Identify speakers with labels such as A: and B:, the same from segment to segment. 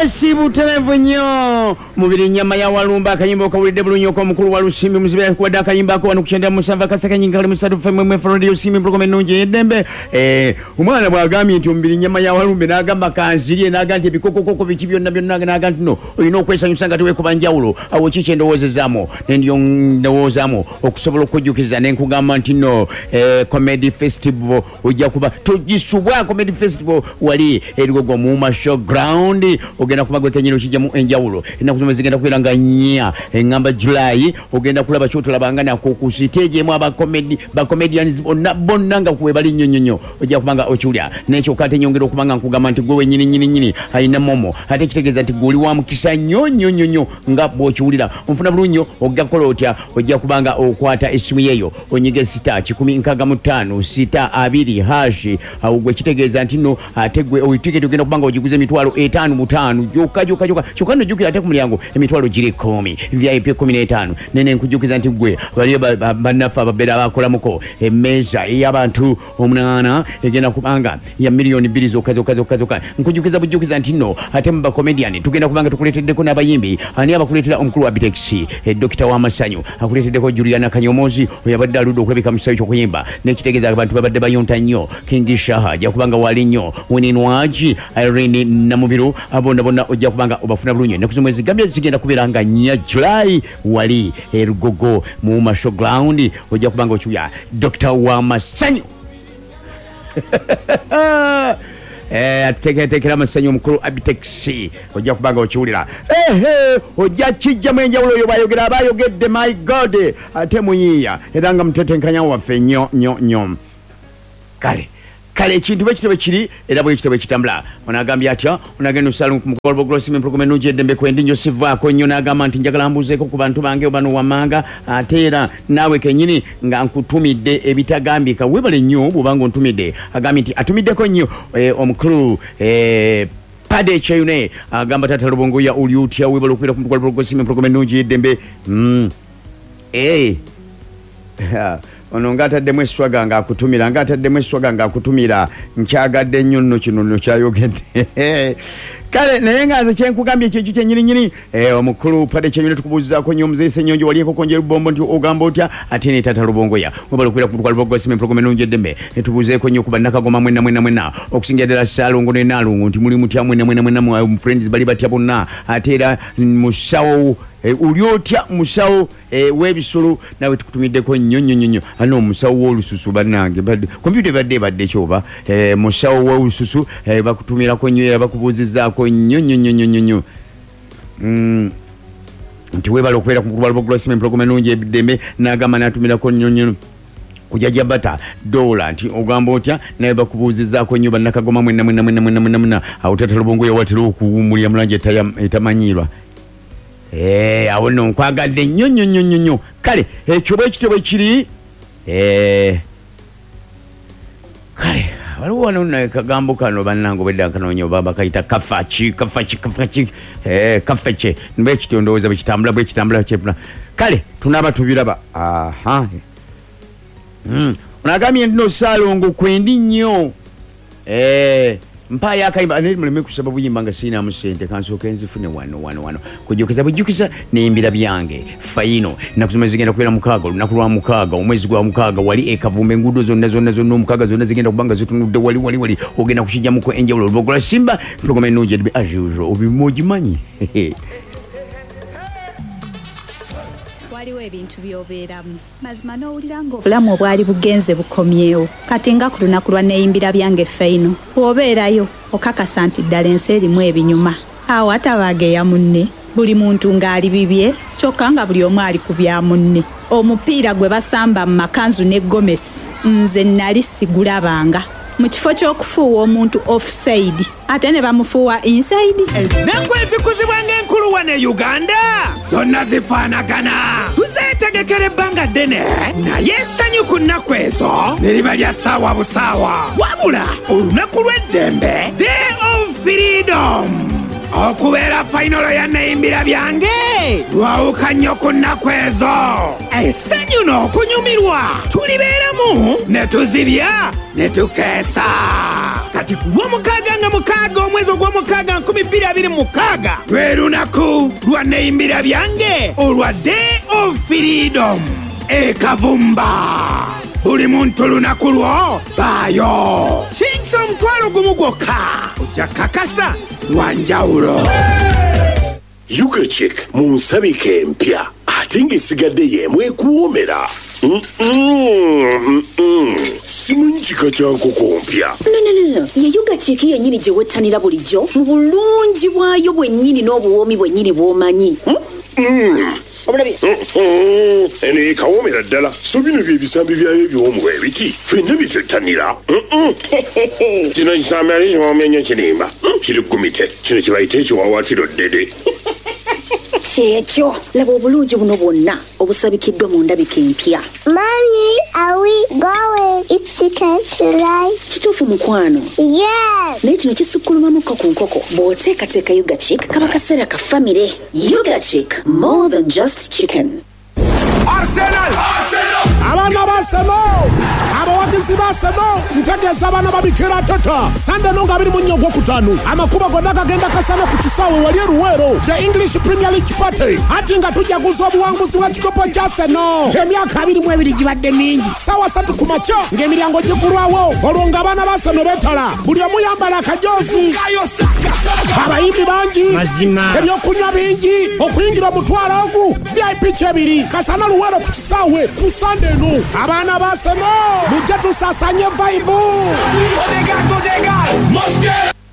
A: Yes, butereevu nnyo. Mubiri nnyama ya Walumba, akayimba okawulidde bulungi okw'omukulu wa Lusimbi Muzibe akuwadde akayimba ako wano ku 97 akasekanyi nkali musatu FM Radio Simbi program ennungi ey'eddembe. Omwana bw'agambye nti omubiri nnyama ya Walumbe n'agamba kanzirye, n'agamba nti ebikokokoko biki byonna byonna, n'agamba nti no olina okwesanyusa nga teweekuba njawulo. Awo ki kye ndowoozezaamu? Ne ndyowoozaamu okusobola okukujjukiza ne nkugamba nti no, Comedy Festival ojja kuba togisubwa. Comedy Festival wali e Lugogo mu Uma Show Ground, ogenda kuba gwe kennyini okijjamu enjawulo. Ennaku zomwe zigenda kubeera nga 4, eŋŋamba July, ogenda kulaba ky'otolabanga nako ku siteegi emu aba comedy, ba comedians bonna bonna nga kwe bali nnyo nnyo nnyo, ojja kuba nga okiwulira. Naye kyokka ate nyongera okuba nga nkugamba nti gwe wennyini nnyini nnyini alina momo, ate kitegeeza nti gwe oli wa mukisa nnyo nnyo nnyo nnyo nga bw'okiwulira. Onfuna bulungi nnyo, ojja kukola otya? Ojja kuba nga okwata essimu yeeyo onyige sita kikumi nkaaga mu ttaano sita abiri hashi. Awo gwe kitegeeza nti nno ate gwe oyo tiketi ogenda kuba nga ogiguza emitwalo etaano mu ttaano gyokka gyokka gyokka. Kyokka nno jjukira ate ku mulyango emitwalo giri 10, VIP 15. Nene nkujjukiza nti gwe baliyo bannaffe ababeera bakolamuko emmeeza ey'abantu 8 egenda kubanga ya miliyoni 2 zokka zokka zokka zokka. Nkujjukiza bujjukiza nti nno ate mu bakomediani tugenda kubanga tukuleeteddeko n'abayimbi. Ani abakuleetera? Omukulu wa Bitex, dokita w'amasanyu akuleeteddeko Juliana Kanyomozi, oyo abadde aludde okulabika mu kisaawe ky'okuyimba, n'ekitegeeza abantu babadde bayonta nnyo. King Shaha ajja kubanga wali nnyo, Winnie Nwagi, Irene Namubiru, abo bonna bonna ojja kubanga obafuna bulungi. Ennaku z'omwezi gambye zigenda kubeera nga 4 July wali e Lugogo mu Uma Show Ground, ojja kubanga okiwulira dokita w'amasanyu. Atuteeketeekera amasanyu omukulu Abitex, ojja kubanga okiwulira. Ehe, ojja kijjamu enjawulo oyo bw'ayogera aba ayogedde, my God, ate muyiiya era nga mutetenkanya waffe nnyo nnyo nnyo. Kale kale ekintu bwe kityo bwe kiri era bwe kityo bwe kitambula. Ono agambye atya? Ono agenda okusala ku mukolo gw'Okulosima empologoma ennungi eddembe kwendi nnyo sivaako nnyo, n'agamba nti njagala mbuuzeeko ku bantu bange bano wammanga, ate era naawe kennyini nga nkutumidde ebitagambika. Weebale nnyo bw'oba ng'ontumidde. Agambye nti atumiddeko nnyo omukulu Pade Kyeyune, agamba taata Lubongoya oli otya? Weebale okubeera ku mukolo gw'Okulosima empologoma ennungi eddembe. Ono ng'ataddemu eswaga ng'akutumira, ng'ataddemu eswaga ng'akutumira. Nkyagadde nnyo nno kino nno kyayogedde. Kale naye nga nze kyenkugambye kyekyo kyennyini nnyini. Omukulu Pade Kyeyune tukubuuzizaako nnyo omuzeeyi Ssenyonjo wali enkoko njeru bombo nti ogamba otya? Ate ne taata Lubongoya webale okubeera ku mukulu wa Lubogo Sima empologoma ennungi eddembe. Ne tubuuzeeko nnyo ku bannakagoma mwenna mwenna mwenna, okusingira ddala Ssaalongo ne Nnaalongo nti muli mutya mwenna mwenna mwenna, friends bali batya bonna. Ate era musawo oli otya musawo w'ebisolo nawe tukutumiddeko nnyo nnyo nnyo nnyo. Ano omusawo w'olususu bannange, kompyuta ebadde ebadde ki oba? Musawo w'olususu bakutumirako nnyo era bakubuuzizzaako nnyo nnyo nnyo nnyo nnyo nnyo. Nti weebale okubeera ku mukulu wa Lubogo Sima empologoma ennungi eddembe, n'agamba n'atumirako nnyo nnyo kujajja bata dola nti ogamba otya, naye bakubuuzizzaako nnyo bannakagoma mwenna mwenna mwenna mwenna mwenna mwenna. Awo taata Lubongoya watera okuwummulira mu langi etamanyiirwa. Awo nno nkwagadde nnyo nnyo nnyo nnyo nnyo. Kale ekyo bwe kityo bwe kiri. Kale waliwo wano nno akagambo kano bannange obwedda nkanoonya oba bakayita kafaki, kafaki, kafaki, kafeke. Bwe kityo ndowooza bwe kitambula, bwe kitambula, kyepuna. Kale tunaaba tubiraba. Aha. Ono agambye nti no Ssaalongo kwendi nnyo. Mpaayo akayimba naye muleme kusaba buyimba nga sirinamu ssente, kansooke nzifune wano wano wano. Kujjukiza bujjukiza neyimbira byange fayino. Ennaku zomwe zigenda kubeera 6, olunaku lwa 6, omwezi gwa 6, wali e Kavumba enguudo zonna zonna zonna omukaaga zonna zigenda kuba nga zitunudde wali wali wali, ogenda kukijjamuko enjawulo. Olubogola Simba empologoma ennungi edbe as usual, obima ogimanyi.
B: Waliwo ebintu by'obeeramu mazima n'owulira ng'obulamu obwali bugenze bukomyewo. Kati nga ku lunaku lwa neeyimbira byange fayino, bw'obeerayo okakasa nti ddala ensi erimu ebinyuma. Awo atabaageya munne, buli muntu ng'ali bibye, kyokka nga buli omu ali ku bya munne. Omupiira gwe basamba mu makanzu ne gomesi nze nnali sigulabanga. Mu kifo ky'okufuuwa omuntu offside ate ne bamufuuwa inside.
C: Ennaku ezikuzibwa ng'enkulu wano e Uganda zonna zifaanagana. Tuzeetegekera ebbanga ddene naye essanyu ku nnaku ezo ne liba lya ssaawa busaawa. Wabula olunaku lw'eddembe, Day of Freedom, okubeera fayinolo ya Neyimbira Byange lwawuka nnyo ku nnaku ezo. Essanyu n'okunyumirwa tulibeeramu ne tuzibya ne tukeesa. Kati ku Lwomukaaga nga 6 omwezi ogw'omukaaga 2025 2026 lwe lunaku lwa Neyimbira Byange olwa Day of Freedom e Kavumba. Buli muntu lunaku lwo baayo. Shillings 10,000 gwokka ojja kakasa lwanjawulo.
D: Yuga Chick mu nsabika empya ate ng'esigadde y'emu ekuwoomera. Simanyi kika kya nkoko mpya.
E: No, no, no, no. Ye Yuga Chick yennyini gye wettanira bulijjo mu bulungi bwayo bwennyini n'obuwoomi bwennyini bw'omanyi. Obulabye?
D: Eno ekawoomera ddala. So bino bye bisambi byayo ebiwoomu ebiti ffenna bye twettanira. Kino kisambi ate kiwoomya nnyo kirimba. Kiri gumite. Kino kye bayita ekiwaawaatiro ddede.
E: Kyekyo, laba obulungi buno bwonna obusabikiddwa mu ndabika empya.
F: Mommy, are we going eat chicken tonight?
E: Kituufu mukwano.
F: Yes.
E: Naye kino kisukkulumamuko ku nkoko. Bw'oteekateeka Yuga Chick kaba kaseera ka famire. Yuga Chick, more than just chicken.
G: Arsenal! Abaana ba Arsenal! Abawagizi ba Arsenal! Ntegeeza abaana babikira tata. Sande nonga 24 Ogwokutaano. Amakubo gonna gagenda kasana ku kisaawe wali e Luweero. The English Premier League Party. Ati nga tujaguza obuwanguzi bwa kikopo kya Arsenal. Emyaka 22 gibadde mingi. Ssaawa 3 ku makya ng'emiryango gigulwawo. Olwo ng'abaana ba Arsenal beetala. Buli omu yambala akajoozi. Abayimbi bangi. Ebyokunywa bingi. Okuyingira omutwalo ogu. VIP kyebiri. Kasana Luweero ku kisaawe ku Sande eno. Abaana ba Arsenal mujje tusaasanye vibe.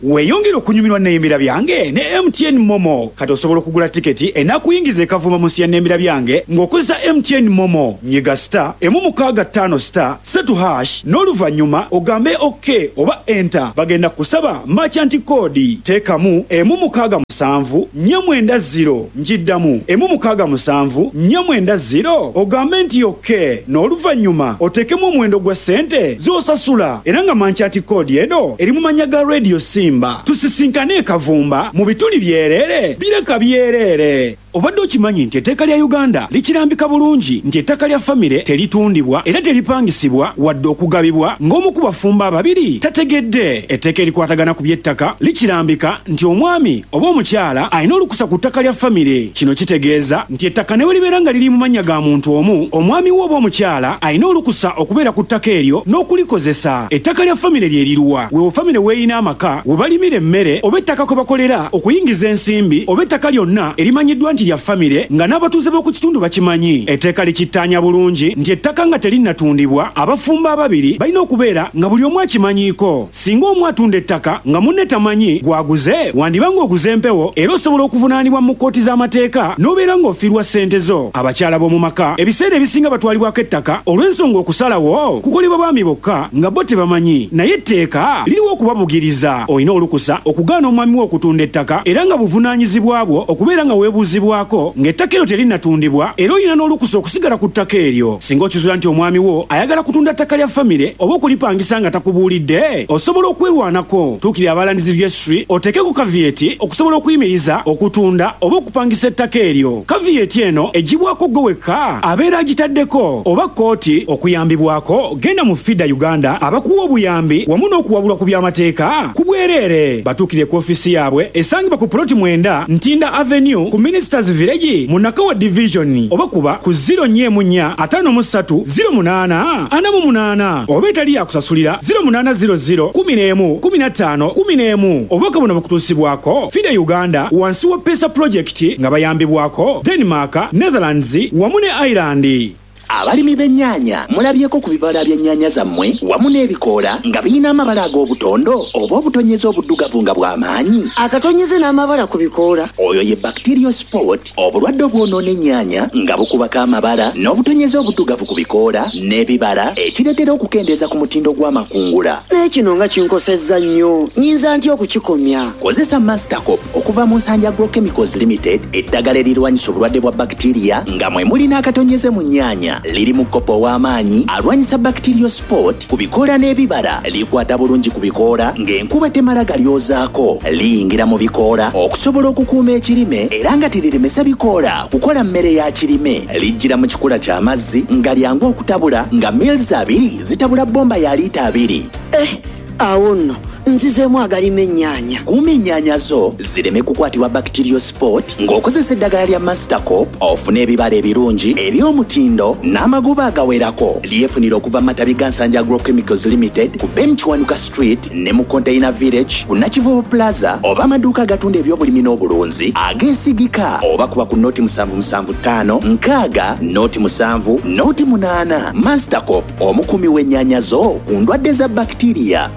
A: Weeyongere okunyumirwa Neyimbira Byange ne MTN MoMo. Kati osobola okugula tiketi enakuyingiza ekavuma mu nsi ya Neyimbira Byange ng'okozesa MTN MoMo. Nyiga *165*3# n'oluvannyuma ogambe OK oba enter. Bagenda kusaba merchant code. Teekamu 167 490. Njiddamu 167 490 ogambe nti OK n'oluvannyuma oteekemu omuwendo gwa ssente z'osasula era nga merchant code eno eri mu mannya ga Radio Simba. Tusisinkane Kavumba mu bituli byereere bireka byereere. Obadde okimanyi nti etteeka lya Uganda likirambika bulungi nti ettaka lya famire teritundibwa era teripangisibwa wadde okugabibwa ng'omu ku bafumbo ababiri tategedde. Etteeka erikwatagana ku by'ettaka likirambika nti omwami oba omukyala alina olukusa ku ttaka lya famire. Kino kitegeeza nti ettaka ne bwe libeera nga liri mu mannya ga muntu omu, omwami we oba omukyala alina olukusa okubeera ku ttaka eryo n'okulikozesa. Ettaka lya famire lye liruwa? Weewo famire weeyina amaka we balimira emmere oba ettaka kwe bakolera okuyingiza ensimbi oba ettaka lyonna erimanyiddwa nti lya famire nga n'abatuuze b'oku kitundu bakimanyi. Etteeka likittaanya bulungi nti ettaka nga terinnatundibwa abafumbo ababiri balina okubeera nga buli omu akimanyiiko. Singa omu atunda ettaka nga munne tamanyi gwaguze, wandiba ng'oguze empewo era osobola okuvunaanibwa mu kkooti z'amateeka n'obeera ng'ofiirwa ssente zo. Abakyala b'omu maka ebiseera ebisinga batwalibwako ettaka olw'ensonga okusalawo kukolebwa baami bokka nga bo tebamanyi, naye etteeka liriwo okubabugiriza. Olina olukusa okugaana omwami wo okutunda ettaka era nga buvunaanyizibwa bwo okubeera nga weebuuzibwako ng'ettaka eryo terinnatundibwa era olina n'olukusa okusigala ku ttaka eryo. Singa okizula nti omwami wo ayagala kutunda ttaka lya famire oba okulipangisa nga takubuulidde, osobola okwerwanako. Tuukirira aba Lands Registry oteekeko caveat okusobola okuyimiriza okutunda oba okupangisa ettaka eryo. Caveat eno eggyibwako ggwe wekka abeera agitaddeko oba kkooti. Okuyambibwako genda mu FIDA Uganda abakuwa obuyambi wamu n'okuwabulwa ku by'amateeka ku bwereere. Batuukire ku ofiisi yaabwe esangibwa ku ploti 9 Ntinda Avenue ku Ministers Village mu Nakawa Division oba kuba ku 04 53 08 48 oba etali yakusasulira 0800 11 15 11. Obubaka buno bukutuusibwako FIDA Uganda wansi wa PESA Project nga bayambibwako Denmark, Netherlands wamu ne Ireland.
H: Abalimi b'ennyaanya, mulabyeko ku bibala by'ennyaanya zammwe wamu n'ebikoola nga birina amabala ag'obutondo oba obutonyeze obuddugavu nga bw'amaanyi?
I: Akatonyeze n'amabala ku bikoola.
H: Oyo ye bacterial spot, obulwadde obwonoona ennyaanya nga bukubako amabala n'obutonyeze obuddugavu ku bikoola n'ebibala, ekireetera okukendeeza ku mutindo gw'amakungula.
I: Naye kino nga kinkosezza nnyo, nnyinza ntya okukikomya?
H: Kozesa Mastercop okuva mu Nsanja Agrochemicals Limited, eddagala erirwanyisa obulwadde bwa bakitiriya nga mwe muli n'akatonyeze mu nnyaanya. Liri mu kkopo ow'amaanyi alwanyisa bacterial spot ku bikoola n'ebibala. Likwata bulungi ku bikoola ng'enkuba temala galyozaako. Liyingira mu bikoola okusobola okukuuma ekirime era nga teriremesa bikoola kukola mmere ya kirime. Lijjira mu kikula ky'amazzi nga lyangu okutabula, nga mils 2 zitabula bomba ya liita 2.
I: Eh, awo nno Nzizeemu agalima ennyaanya.
H: Kuuma ennyaanya zo zireme kukwatibwa bacterial spot ng'okozesa eddagala lya Mastercop, ofune ebibala ebirungi eby'omutindo n'amagoba agawerako. Lyefunira okuva mu matabi ga Nsanja Agrochemicals Limited ku Ben Kiwanuka Street ne mu Container Village ku Nakivubo Plaza, oba amaduuka agatunda ebyobulimi n'obulunzi ageesigika, oba kuba ku 0775 60 07 08. Mastercop, omukuumi w'ennyaanya zo ku ndwadde za bakitiriya.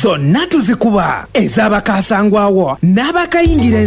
C: Zonna tuzikuba ez'abakasangwawo n'abakayingira.